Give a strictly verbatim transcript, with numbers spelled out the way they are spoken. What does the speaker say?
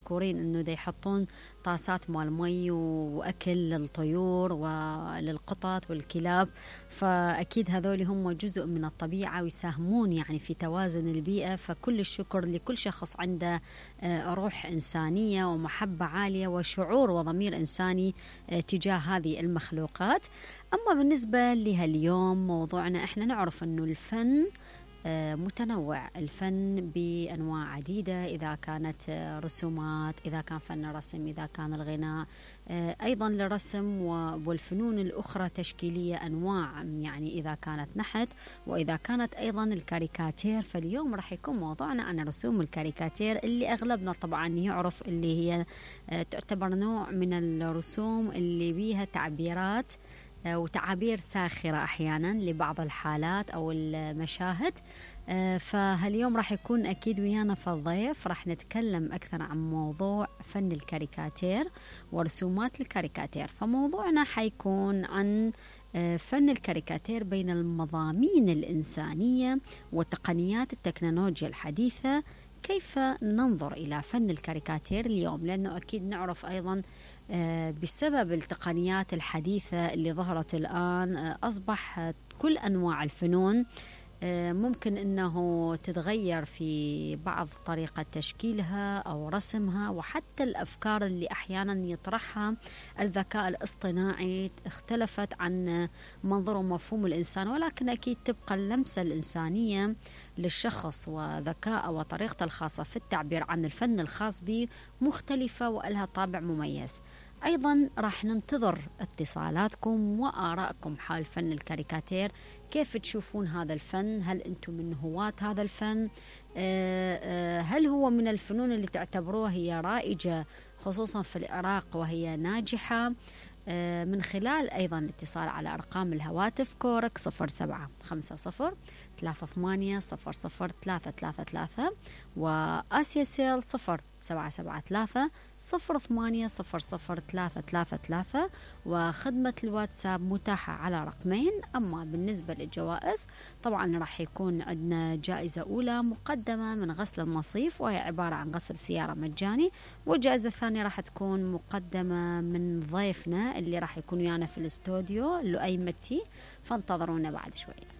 مشكورين إنه دا يحطون طاسات مال مي وأكل للطيور وللقطط والكلاب. فأكيد هذول هم جزء من الطبيعة ويساهمون يعني في توازن البيئة. فكل الشكر لكل شخص عنده روح إنسانية ومحبة عالية وشعور وضمير إنساني تجاه هذه المخلوقات. أما بالنسبة لها اليوم موضوعنا، إحنا نعرف أنه الفن متنوع، الفن بأنواع عديدة، إذا كانت رسومات، إذا كان فن رسم، إذا كان الغناء، أيضا للرسم والفنون الأخرى تشكيلية أنواع، يعني إذا كانت نحت وإذا كانت أيضا الكاريكاتير. فاليوم راح يكون موضوعنا عن رسوم الكاريكاتير اللي أغلبنا طبعا يعرف اللي هي تعتبر نوع من الرسوم اللي بيها تعبيرات وتعابير ساخرة أحيانا لبعض الحالات أو المشاهد. فهاليوم راح يكون أكيد ويانا في الضيف، راح نتكلم أكثر عن موضوع فن الكاريكاتير ورسومات الكاريكاتير. فموضوعنا حيكون عن فن الكاريكاتير بين المضامين الإنسانية وتقنيات التكنولوجيا الحديثة. كيف ننظر إلى فن الكاريكاتير اليوم؟ لأنه أكيد نعرف أيضا بسبب التقنيات الحديثة اللي ظهرت الآن أصبح كل أنواع الفنون ممكن أنه تتغير في بعض طريقة تشكيلها أو رسمها، وحتى الأفكار اللي أحيانا يطرحها الذكاء الاصطناعي اختلفت عن منظور ومفهوم الإنسان، ولكن أكيد تبقى اللمسة الإنسانية للشخص وذكاء وطريقته الخاصة في التعبير عن الفن الخاص به مختلفة وإلها طابع مميز. أيضا راح ننتظر اتصالاتكم وآرائكم حول فن الكاريكاتير. كيف تشوفون هذا الفن؟ هل أنتم من هواة هذا الفن؟ هل هو من الفنون اللي تعتبروها هي رائجة خصوصا في العراق وهي ناجحة؟ من خلال أيضا الاتصال على أرقام الهواتف كورك صفر سبعة خمسة صفر ثلاثة ثمانية صفر صفر ثلاثة ثلاثة ثلاثة وآسيا سيل صفر سبعة سبعة ثلاثة صفر ثمانية صفر صفر ثلاثة ثلاثة ثلاثة، وخدمة الواتساب متاحة على رقمين. أما بالنسبة للجوائز طبعا راح يكون عندنا جائزة أولى مقدمة من غسل المصيف وهي عبارة عن غسل سيارة مجاني، والجائزة الثانية راح تكون مقدمة من ضيفنا اللي راح يكون ويانا في الاستوديو لؤي متي. فانتظرونا بعد شوية.